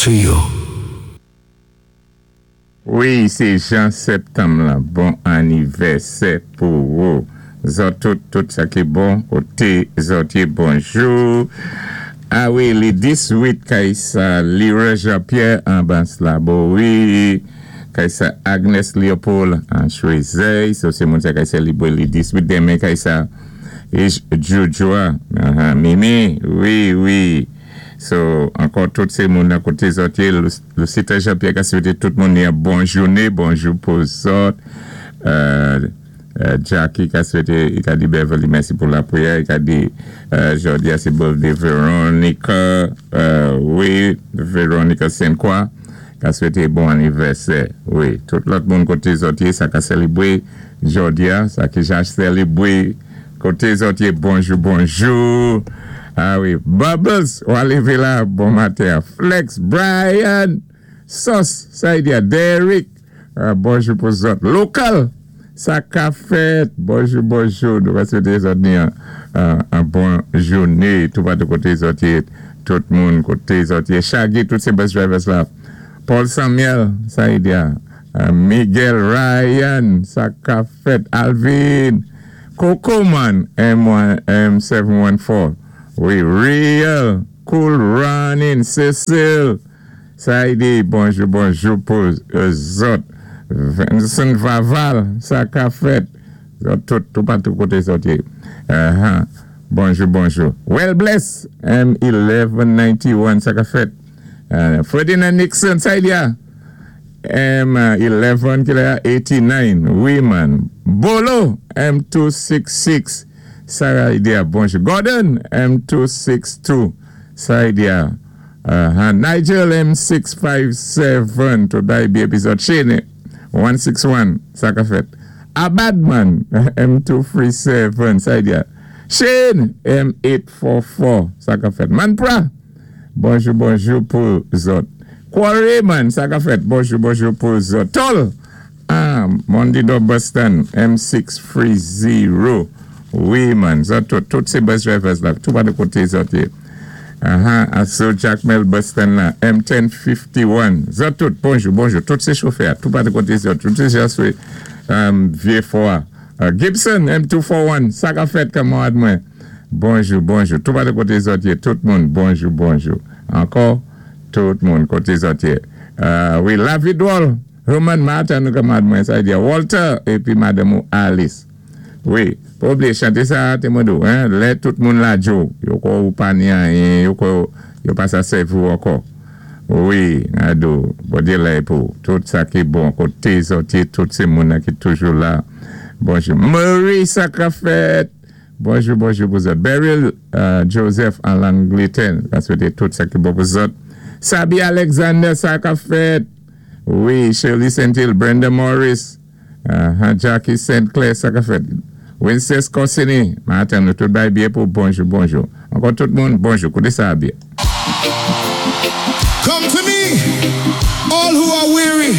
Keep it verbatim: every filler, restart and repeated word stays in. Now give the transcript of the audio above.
to you. Wi, sé Jean Septanm la. Bon anivèsè pou ou. Zòt tout, tout sa ki bon, koté zòt yé, bonjou. A wi, li diz-wit kay sa Leroy Jean-Pierre an Anse-La-Bouée. Wi, kay sa Agnes Léopold an Choiseuil. So sé moun sa kay sélibwé li diz-wit denmen kay sa Jojoa, uh-huh. Mimi, wi, wi. So, ankò tout sé moun nan koté zòt yé, Lucita Jean-Pierre ka swété tout moun yon bon jouné, bonjou pou zòt. Euh, euh, Jackie ka swété, i ka di Beverly mèsi pou lapriyè, i ka di euh, jòdi a sé birthday Veronica, euh, wi, Veronica Sainte-Croix, ka swété bon anivèsè, wi. Tout lòt moun koté zòt yé, sa ka sélibwé jòdi a, sa ki ja sélibwé, koté zòt yé, bonjou, bonjou. A wi, Bubbles, ou lévé la, bon maten. Flex, Brian, Sos, sa i di a Derek, uh, bonjou pou zòt. Lokal, sa ka fèt, bonjou, bonjou. Nou va swété zòt ni an, an bon jouné, tout patou koté zòt yé, tout moun koté zòt yé. Shaggy, tout sé bus drivers la. Paul Samuel, sa i di a. Uh, Miguel Ryan, sa ka fèt. Alvin, Coco Man, M one, M seven one four. Wi, Real, Cool Running, Cecil. Sa i di, bonjou, bonjou pou zòt. Vincent Vaval, sa ka fèt. Zòt tout, tout patou koté zòt yé. Uh-huh. Bonjou, bonjou. Well bless, M eleven ninety-one, sa ka fèt. Uh, Ferdinand Nixon, sa i di a. M eleven, ki la, eighty-nine. Wi, man. Bolo, M two six six. Sa i di a, bonjou. Gordon, M two six two. Sa i di a. Uh, Nigel M six five seven. Tout bay bi epizòd. Shane, one six one. Sa ka fèt. Abadman, M two three seven. Sa i di a. Shane, M eight four four. Sa ka fèt. Manpra, bonjou, bonjou pou zòt. Quarry man, sa ka fèt. Bonjou, bonjou pou zòt. Tol, ah, Mondido Boston, M six three zero. Wi, man, zòt tout, tout sé bus drivers la, tout pa de koté zòt yé. Aha, aso Jacmel Boston la, M ten fifty-one. Zòt tout, bonjou, bonjou, tout sé chofè, tout pa de koté zòt, tout sé jaswe, um, Vieux Fort. Uh, Gibson, M two four one, sa ka fèt kanmarad mwen. Bonjou, bonjou, tout pa de koté zòt yé, tout moun, bonjou, bonjou. Ankò, tout moun koté zòt yé. Uh, wi, La Vidwol, Herman Martin, kanmarad mwen, sa i di Walter, épi madanm ou Alice. Wi, pa oubliyé chanté sa, té mwen di ou, hein, lè tout moun lajé ou, yo kwè ou pa ni anyen, yo kwè yo pa sa sèvi ou ankò. Wi, ado, Bondyé la pou, tout sa ki bon, koté zòt yé, tout sé moun ki toujou la. Bonjou. Marie, sa ka fèt. Bonjou, bonjou pou zòt. Beryl uh, Joseph an Langletè, ka swété tout sa ki bon pou zòt. Sabi Alexander, sa ka fèt. Wi, Shirley Saint-Hill, Brenda Morris, uh, Jackie Saint Clair, sa ka fèt. Wincest Corsini, maten nou tout bay byen pou bonjou, bonjou. Ankò tout moun, bonjou, kouté sa byen. Come to me, all who are weary.